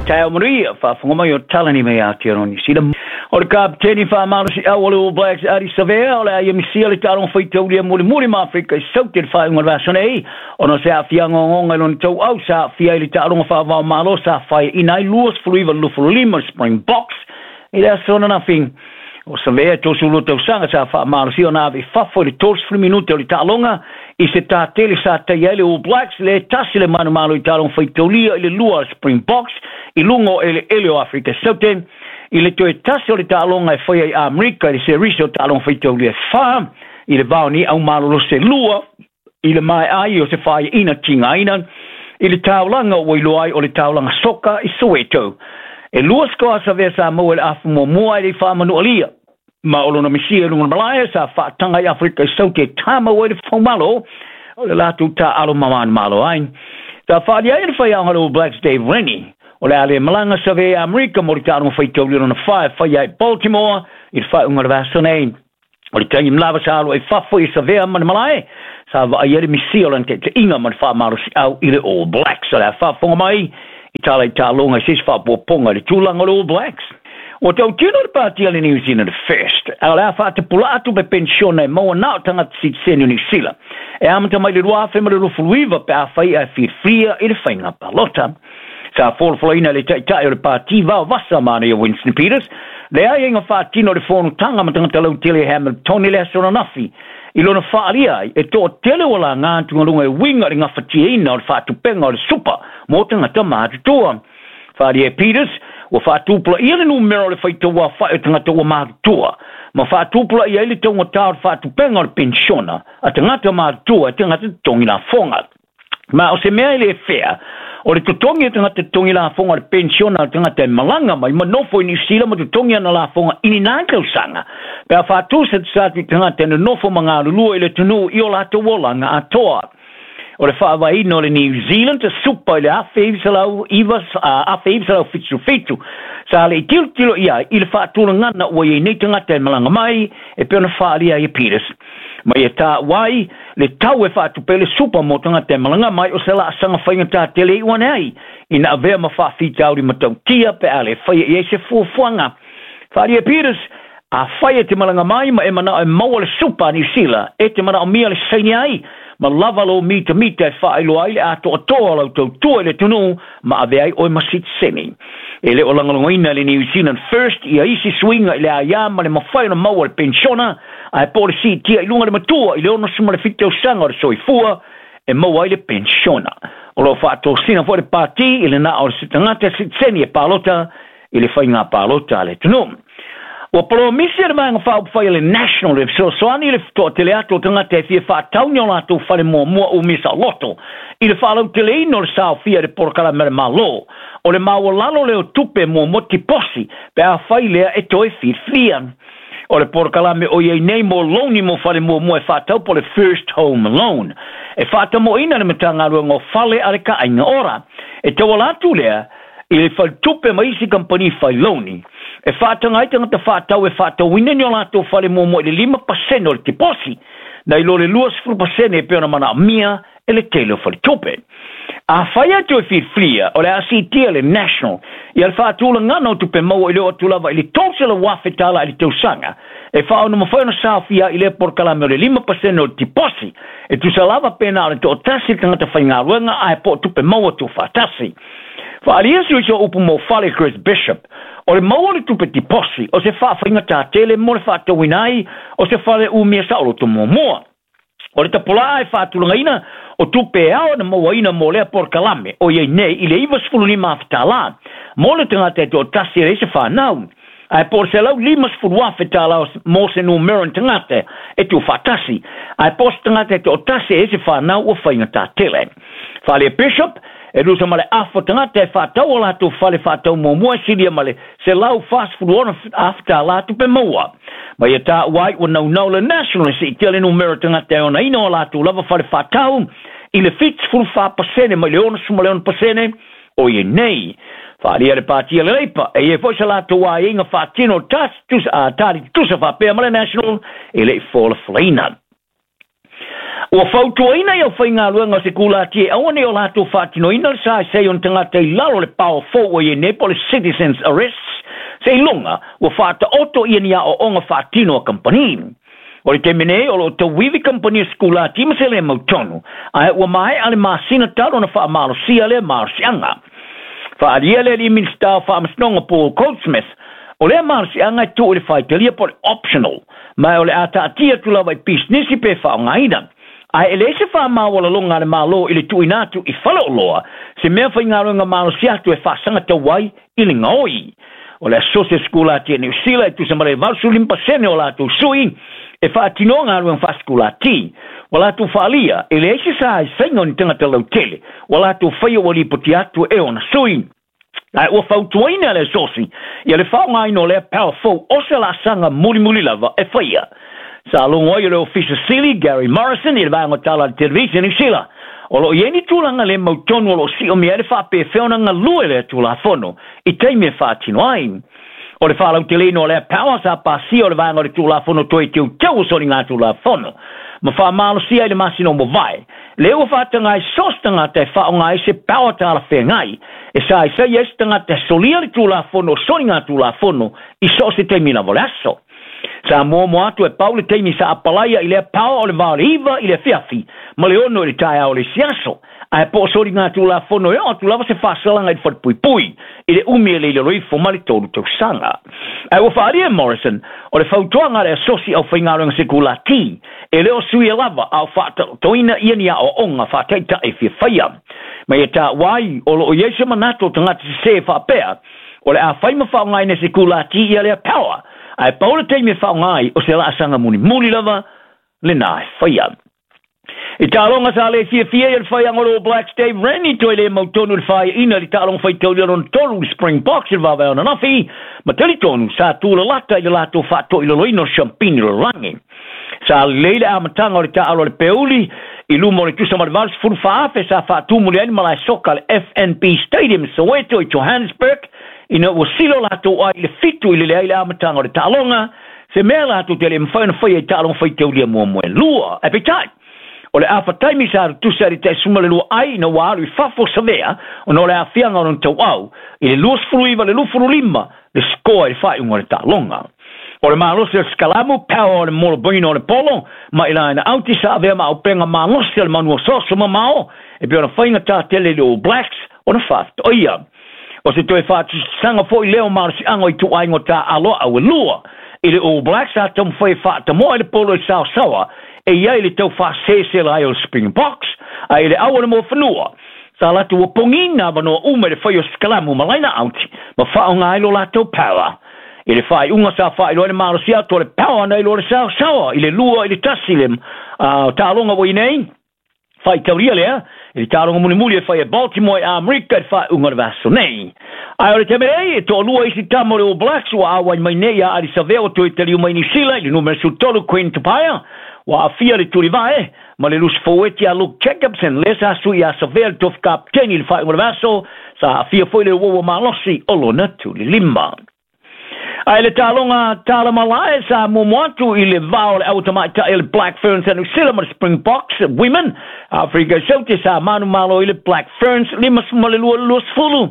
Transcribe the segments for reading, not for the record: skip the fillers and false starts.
Taeao manuia, faafofoga mai o Talani mai Aotearoa Niu Sila. O le kapeteni faamalosiau o le All Blacks Ardie Savea o le a ia misia le taaloga faitaulia mulimuli ma Afrika i Saute i le faaiuga o le vaiaso nei ona o se aafiaga ogaoga i lona tauau sa aafia ai le taaloga faava-o-Malo sa faiaina ai 29-25 le Springboks i le aso ananafi. O Savea e 32 tausaga sa faamalosia ona ave i fafo i le 30 minute o le taaloga i se tātele sa taia ai le All Blacks le tasi le manumalo i taaloga faitaulia i le lua a le Springboks i luga o eleele o Afrika Saute i le toe tasi o le taaloga e faia i Amerika i le serisi o taaloga faitaulia e fa i le va o ni aumalolosi e lua i le maea ai o se faiaina tigaina i le taulaga ua iloa ai o le taulaga soka i Soweto. E lua sikoa a Savea sa maua i le afu muamua ae le i faamanualia ma o lona misia i luga o le malae sa faataga i Afrika i Saute e tāmau ai le faumalo o le latou taaalo ma manumalo ai. Sa faaalia ai e le faiaoga le All Blacks Dave Rennie o le a le malaga Savea i Amerika mo le taaloga faitauli lona fa e faia ai Baltimore i le faaiuga o le vaiaso nei. O le taimi lava sa alo ai fafo i Savea ma le malae, sa vaai ai le misia o lana taitaiga ma le faamalosiau i le All Blacks. O le a faafofoga mai i tala i taaloga i se isi faaopoopoga i le tulaga o le All Blacks. Ua tautino le pati a le New Zealand First, a o le a faatapulaa tupe penisiona e maua na o tagata sitiseni o Niu Sila e amata mai le 2029 pe afai ae filifilia i le faiga palota. Sa folafolaina e le Taitai o le Pati Vaovasa Manaia Winston Peters le aiaiga faatino o le fonotaga ma tagata lautele i Hamilton i le aso ananafi i lona faaalia ai e toatele ua laga atugaluga e uiga i le gafatiaina o le faatupeina o le supa mo tagata matutua. Faaalia e Peters, ua faatupulaia le numera o le faitauaofai o tagata ua matutua ma faatupulaia ai le taugata o le faatupega o le penisiona a tagata matutua e tagata totogi lafoga. Ma o se mea e le fea, o le totogi a tagata totogi lafoga o le penisiona a le tagata e malaga mai ma nofo i Niu Sila ma totogi ana lafoga i ni nā tausaga, pe a faatusatusa atu i tagata e nonofo ma galulue i le atunuu i o latou olaga atoa. O le faavaeina o le New Zealand Super i le 1977, sa le i tilotilo i ai i le faatulagaga ua i ai nei tagata e malaga mai e pei ona faaalia ai e Peters. Ma ia taua ai le tau e faatupe ai le supa mo tagata e malaga mai o se laasaga faigata tele iu ane ai ina avea ma faafitauli matautia pe a le faia i ai se fuafuaga. Faaalia Peters, Afai e te malaga mai ma e manao e maua le supa a Niu Sila, e te manaomia le saini ai ma lava lou mitamita e faailoa ai le atoatoa o lau tautua i le atunuu ma avea ai oe ma sitiseni. E le o lagolagoina e le New Zealand First ia isi suiga i le aia ma le mafai ona maua le penisiona ae po o le siitia i luga le matua i le 67 tausaga o le soifua e maua ai le penisiona. O lo o faatosina foi le Pati i le na o se tagata sitiseni e palota i le faiga palota a le atunuu. Ua polomisi e le Vaega Faaupufai a le National le fesoasoani i le toatele atu o tagata e fia faatau ni o latou fale muamua umia saoloto i le faalauteleina o le saofia i le polokalame a le Malo o le maualalo lea o tupe muamua tiposi pe afai lea e toe filifilia. O le polokalame o i ai nei mo loani mo fale muamua e faatau po o le First Home Loan e faatamoina le Matagaluega o Fale a le Kaaiga Ora. E tauala atu lea i le faletupe ma isi kamupani fai loani e faataga ai tagata faatau e faatauina ni o latou fale muamua i le 5% o le tiposi nai lo le 20% e pei ona manaomia e le tele o faletupe. Afai e toe filifilia, o le a siitia le National ia le faatulagaga o tupe maua i le oo atu lava i le $300,000 i le tausaga e faaono mafai ona saofia ai i lea polokalame o le 5% o le tiposi e tusa lava pe na o le toatasi le tagata faigaluega ae po o tupe maua tuufaatasi. Faaalia sui so upu mo fale Chris Bishop, o le maua o le tupe tiposi o se faafaigata tele mo le faatauina ai o se fale umia saoloto muamua. O le tapolaa e faatulagaina o tupe e ao ona mauaina mo lea polokalame o i ai nei i le $95,000 mo le tagata e toatasi e leai se fanau, ae po o le $150,000 mo se numera o ni tagata e tuufaatasi, ae po o se tagata e toatasi e leai se fanau ua faigata tele. Faaalia Bishop, e tusa ma le afa tagata e faatau o latou fale faatau muamua e silia ma le $146,000 tupe maua. Ma ia taua ai ua naunau le National e siitia le numera o tagata e onaina o latou lava fale faatau i le 74% mai le 66% o i ai nei. Faaalia e le Pati a le Leipa, e i ai foi se latou aiaiga faatino tali tutusa faapea ma le National e le i folafolaina. Ua fautuaina i aufaigaluega o sekulati e aua ne i o latou faatinoina le saisai o ni tagata i lalo o le power fou ua i ai nei po o le Citizens Arrest seiloga ua faataoto ia ni aoaoga faatino a kamupani. O le taimi nei, o lo o tauivi kamupani o sekulati ma se le mautonu, ae ua maea le masina talu ona faamalosia lea malosiaga. Faaalia le alii Minisita o Faamasinoga Paul Goldsmith, o lea malosiaga e tuu i le faitalia po o le optional, ma o le a taatia atu lava i pisinisi pe faaaogaina. Ae e leai se faamaualaloga a le Malo i le tuuina atu i faleoloa se mea faigaluega malosi atu e faasagatau ai i le gaoi. O le Asosi o Sikulati a Niu Sila e tusa ma le 85% o latou sui e faatinoa galuega faasikulati. Ua latou faaalia, e leai se saisaiga o ni tagata lautele ua latou faia ua lipoti atu e ona sui. Ae ua fautuaina e le Asosi ia le faaaogaina o lea power fou o se laasaga mulimuli lava e faia. Sa logo ai o le Ofisa Sili Gary Morrison i le vaega o tala a le televise i Niu Sila. O lo o i ai ni tulaga le mautonu o lo o siomia ai le faapefea ona galue lea Tulafono i taimi e faatino ai. O le faalauteleina o lea power sa pasia o le vaega o le Tulafono Toe Teuteu o Soligatulafono ma faamalosia i le masina o mavae, lea ua faataga ai so o se tagata e faaaoga ai se power talafeagai e saisai ai se tagata e solia le Tulafono o Soligatulafono i so o se taimi lava o le aso. Sa muamua atu e pau le taimi sa apalaia i lea power o le va o le 9 i le afiafi ma le 6 i le taeao o le isi aso. Ae po o soligatulafono e oo atu lava se faasalaga i le falepuipui i le umi e le i lalo ifo ma le 3 tausaga. Ae ua faaalia e Morrison, o le fautuaga a le Asosi Aufaigaluega Sekulati, e le o suia lava a o faataotoina ia ni aoaoga faataitai e fia faia. Ma ia taua ai, o lo o i ai se manatu o tagata sese faapea, o le a fai ma faaaogaina e sekulati ia lea power, ae pau le taimi e faaaoga ai o se laasaga mulimuli lava lena e faia. I taaloga sa le fiafia ia le faiaga o le All Blacks Dave Rennie toe le mautonu i le fāiaina i le taaloga faitaulia lona tolu i le Springboks i le vaavae ananafi, ma talitonu sa tulalata i le latou faatoilaloina o le siampini lalolagi. Sa lelei le amataga o le taaalo a le Peuli i luma o le tusa ma le 84,000 sa faatumuli ai le malae soka le FNB Stadium i Soweto i Johannesburg ina ua silo latou ai i le 7 i le leai le amataga o le taaloga, se mea latou te le mafai ona faia i taaloga faitaulia muamua e lua. Ae peitai, o le afa taimi sa tutusa i le 12 ai ina ua alu i fafo Savea ona o le aafiaga o lona tauau i le 29 le 25 le sikoa i le faaiuga o le taaloga. O le malosi o le Sikalamu, power o le Moloboina o le Polo, ma i laina auti sa avea ma aupenga malosi o le manu osooso mamao e pei ona faigata tele i le All Blacks ona faafetoia. O se toe faatusatusaga foi lea o malosiaga o ituaiga o taaalo au e lua. I le All Blacks sa taumafai e faatamoa i le polo i saosaoa e i ai le tau faasesela ai o le Springboks, ae i le au o le Moafanua, sa latou ua pogiina avanoa uma i le fai o sikalamu ma laina auti ma faaaoga ai lo latou power. I le faaiuga sa faailoa ai le malosi atu o le power na iloa le saosaoa i le 2-1 le taaloga ua i nei, faitaulia lea i le taaloga mulimuli e fai e Baltimore i Amerika i le faaiuga o le vaiaso nei. Ae o le taimi nei, e toalua isi tama o le All Blacks ua auai mai nei ia Ardie Savea ua toe taliu mai Niu Sila i le numera 13 Quinn Tupaea ua aafia le tulivae ma le lusi foueti a Luke Jacobson lea sa sui ia Savea le tofi kapiteni i le faaiuga o le vaiaso sa aafia foi le uaua malosi o lona tulilima. Ae le taaloga tala malae sa muamua atu i le va o le au tamaitai a le Black Ferns a New Zealand ma le Springboks Women Afrika i Saute sa manumalo i le Black Ferns 52 20.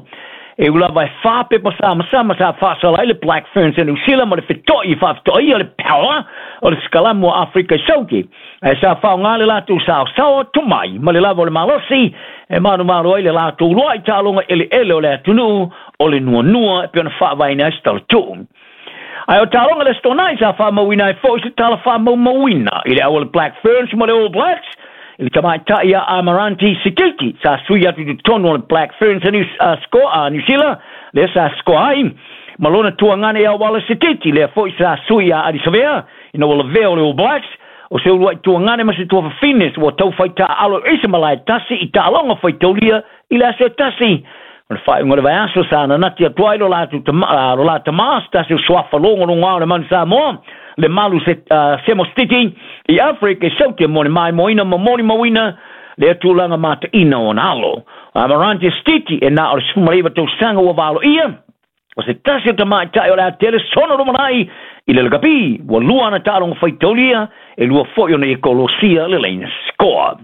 E ui lava e whā pepa samasama sa faasala ai le Black Ferns a New Zealand ma le feto'i i faafetoaia le power o le sikalamu a Afrika i Saute. Ae sa faaaoga le latou saosaoa tomai ma le lava o le malosi e manumalo ai le latou lua'i taaloga eleele o le atunuu o le nuanua e pei ona faavaeina ai se talatuu. Ae o taaloga le Aso Toonai sa faamauina ai foi se tala faamaumauina i le au o le Black Ferns ma le All Blacks i le tamaitai ia Amaranti Sititi sa sui atu i totonu o le Black Ferns a New, a New Zealand lea sa score ai ma lona tuagane ia Wallace Sititi lea foi sa sui ia Ardie Savea ina ua lavea o le All Blacks o se uluai tuagane ma se tuafafine ua tau fai taaalo i se malae tasi i taaloga faitaulia i le aso e tasi. O le faaiuga o le vaiaso sa nanati atu ai lo latou tama, lo la tama se tasi o suafa logologoa o le manu Samoa, le malu se, Semo Stiti i Afrika i Saute mo le maimoaina ma molimauina lea tulaga mataina o ona alo. Amarante Stiti e na o le 19 tausaga ua valoia, o se tasi o tamaitai o le a tele sona lumanai i le lakapi, ua lua ana taaloga faitaulia, e lua foi ona ia kolosia le laina score.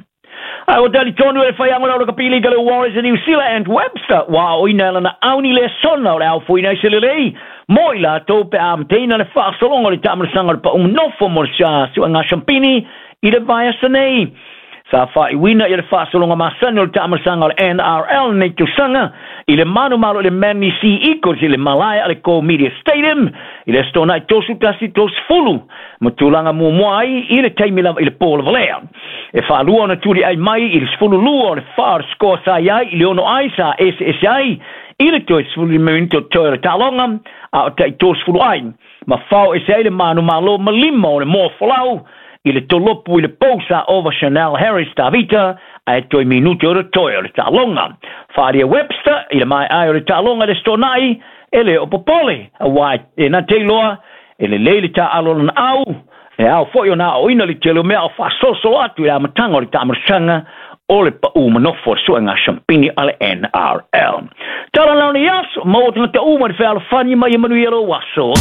Ae ua talitonu e le faiago o lakapi liga le Warriors New Zealand Webster, ua aoina e lana auni le sona o le aofoina ai se lelei mo i latou pe a amataina le faasologa o le taamalosaga o le paʻu nofo mo le suega siampini i le vaiaso nei. Sa faaiuina ia le faasologa masani o le taamalosaga o le NRL nei tausaga i le manumalo i le Manly Sea Eagles i le malae a le Go Media Stadium i le Aso Toonai 31 30, ma tulaga muamua ai i le taimi lava i le po lavalea. E faalua ona tuliai mai i le 12 o le 4 o le score sa i ai i le 6 ai sa eseese ai i le toe 15 minute o toe o le taaloga, a o tai 30 ai ma fao ese ai le manumalo ma lima o le moa folau i le tolopu i le pou sa ova Chanel Harris Tavita, ae toe minute o le toe o le taaloga. Faaalia Webster i le maeae o le taaloga i le Aso Toonai e le o popole, auā e na te iloa e lelei le taaalo o lana au e ao foi ona aoina le tele o mea o faasolosolo atu i le amataga o le taamalosaga o le paʻu manofo o le suega siampini a le NRL. Tala laona i aso, maua tagata uma le fealofani mai e manuia lou aso.